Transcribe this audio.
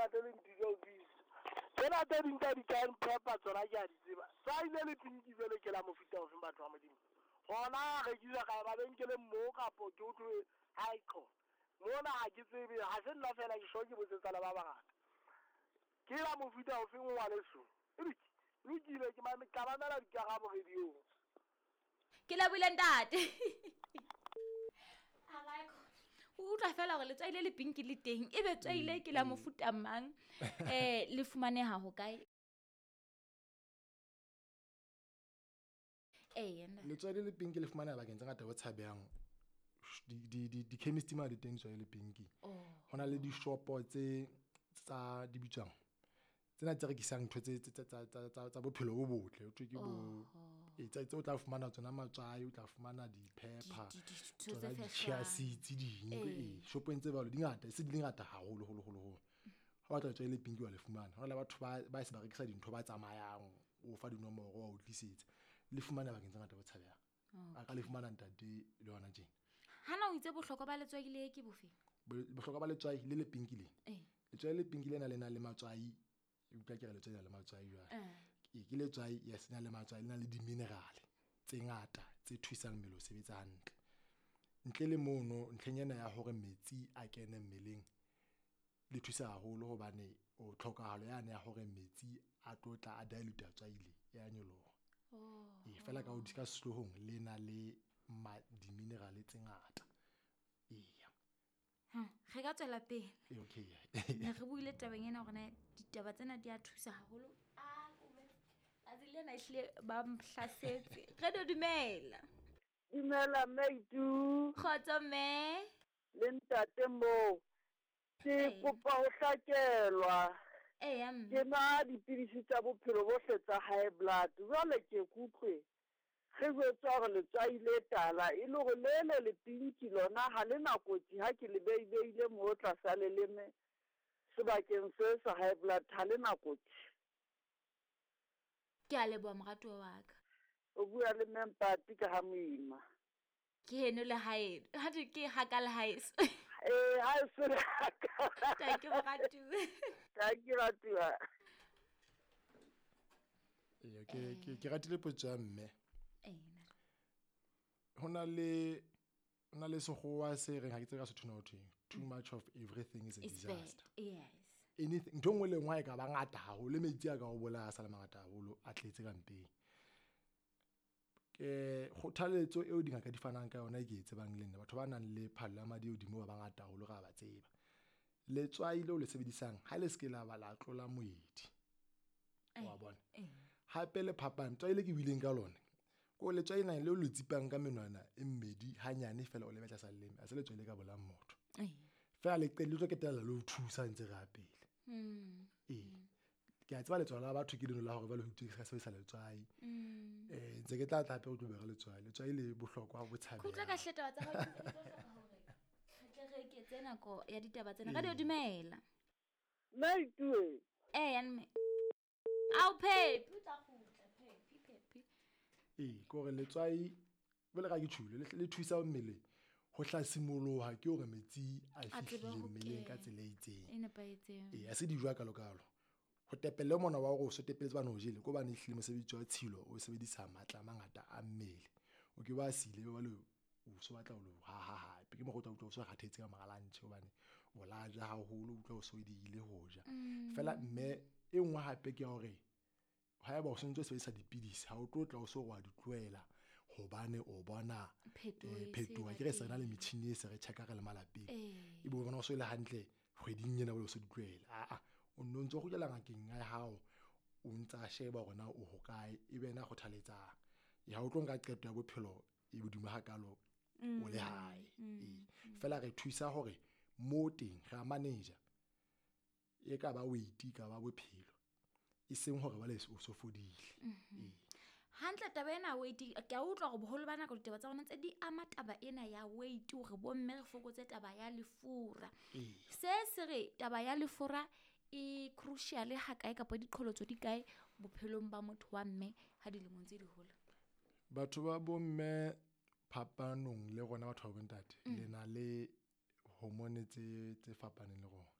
ntate le ntise o busy. Tsena tse ding tsa di-cayenne pepper tsona ke a di tseba. Tswai le le pinki jwale ke la mofuta ofeng batho ba Modimo? Hona rekiswa kae mabenkeleng moo kapo ke utlwe ha e qho. Mona ha ke tsebe, ha se nna fela ke sure ke botsetsa le ba bangata. Ke la mofuta ofeng ngwaneso? Ebiki, lokile ke tla mamela dikarabo radiong. Ke lebohile ntate. O utlwa fela gore letswai le le pinki le teng e be tswai le ke la mofuta mang le fumaneha ho kae? Ee, nna. Letswai le le pinki le fumaneha bakeng tse ngata bo tshabehang. Di-chemist ma di teng letswai le pinki. Ho na le dishopo tse tsa di bitswang tsena tse rekisang ntho tse tsa bophelo bo botle. Ho thwe ke bo tse o tla fumana tsona matswai, o tla fumana di-pepper, Dintho tsona tse di-chia fehlang. seeds ding. Ee, shopong tse jwalo di ngata, e se di le ngata haholo holo holo holo. Ha o batla letswai le pinki wa le fumana. Ho na le batho ba se ba rekisa dintho ba tsamayang, o fa dinomoro wa o tlisetsa. Le fumana bakeng tse ngata bo tshabehang. A ka le fumana ntate le hona tjena. Hana o itse bohlokwa ba letswai le ke bofe? Bohlokwa ba letswai le le pinki le. Letswai le pinki lena le na le matswai. E utlwa ke re letswai le na le matswai jwale. Ee, ke letswai, yes, le na le matswai, le na le di-mineral tse ngata tse thusang mmele ho sebetsa hantle. Ntle le mono, ntlheng ena ya hore metsi a kene mmeleng le thusa haholo hobane o tlhokahalo yane ya hore metsi a tlo tla a dilute tswai le ya nyoloha. Ee, fela ka ka sehloohong le na le di-mineral tse ngata. Eya. Re ka tswela pele. Ee, okay. Ne re buile tabeng ena hore na ditaba tsena di a thusa haholo. Tsatsi lena ehlile ba mhlasetse. Re do dumela. Dumela Maitu. Kgotso mme. Le ntate moo. Ke kopa ho hlakelwa. Eya mme. Ke nwa dipidisi tsa bophelo bohle tsa high blood. Jwale ke kutlwe re jwetswa hore letswai le tala e le hore le le le pinki lona ha le na kotsi ha ke le beibeile moo tlasa leleme sebakeng se sa high blood ha le na kotsi. Ke a leboha moratuwa wa ka. O bua le mme Mpati ka ha Moima. Ke heno le haeno. Ha thwe ke ha ka le haeso. Ee, haeso le ha ka. Thank you moratuwa. Thank you moratuwa. Ee, ke ratile potso ya mme. Ena. Ho na le sekgowa se reng ha ke tsebe ka Sotho ho thweng. Too much of everything is a It's bad. disaster. Yes. Anything, ntho e nngwe le nngwe ha e ka ba ngata haholo, le metsi a ka o bolaya a sa le mangata haholo, a tletse ka mpeng. Kgothaletso eo dingaka di fanang ka yona e ke e tsebang le nna, batho ba nang le phallo ya madi e hodimo ba bangata haholo re a ba tseba. Letswai leo le sebedisang ha le se ke la ba la tlola moedi. Wa bona? Hape le phapang, tswai le ke buileng ka lona, ko letswai lena leo le tsipang ka menwana e mmedi hanyane fela o le betla sa leleme, ha se letswai le ka bolayang motho. Fela le le tlo qetella le o thusa ntse re ya pele. Ee. Ke a tseba letswalo la batho ke leno la hore jwale ho itswe ke ska sebedisa letswai. Ntse ke tla tla hape o tlo bua ka letswai. Letswai le bohlokwa bo tshabeha. Khutla ka hle taba tsa hao, ke tlo hloka hore re tle re eketse nako ya ditaba tsena. Radio dumela. Maitue. Eya mme. Ao Phephi, o tla kgutla Phephi, Phephi. Ee, ke hore letswai jwale ka ke tjhulo, le thusa mmele ho hlasimoloha ke hore metsi a A tsebe fihlile ho mmeleng ka kena. tsela e itseng. E nepahetseng. Ee, ha se dijo hakalo-kalo. Ho tepelle mona wa hore o so tepelletse bana o jele, ke hobane ehlile mosebetsi wa tshilo o sebedisa matla a mangata a mmele. O ke ba sile jwale o so batla ho lo haha hape. Ke mokgwa o tla utlwa o so kgathetse ka mora lunch hobane o la ja haholo, o utlwa o so diehile ho ja. Fela mme e nngwe hape ke ya hore haeba o sontso o sebedisa dipidisi, ha o tlo tla o so wa di tlohela hobane o bona Phetoho e se phetoho. ba Akere se re na le teng. metjhini e se re check-a re le malapeng. Ee. Ebe o bona o so le hantle kgweding ena o so di tlohela. Aa, o nno ntso kgutlela ngakeng ya hao, o ntsa sheba hore na o hokae, ebe yena a kgothaletsang. Ha o tlo nka qeto ya bophelo e hodimo hakalo o le hae. Ee. Fela re thusa hore mo teng re a manager. E ka ba weight, e ka ba bophelo. E seng hore jwale o so fodile. Ee. Hantle taba ena weight, ke a utlwa hore boholo ba nako ditaba tsa rona tse di ama taba ena ya weight hore bomme re fokotse taba ya lefura. Se se re taba ya lefura e crucial ha kae kapa diqholotso di kae bophelong ba motho wa mme ha dilemong tse di hola? Batho ba bomme phapanong le rona batho ba bontate, le na le hormone tse fapaneng le rona.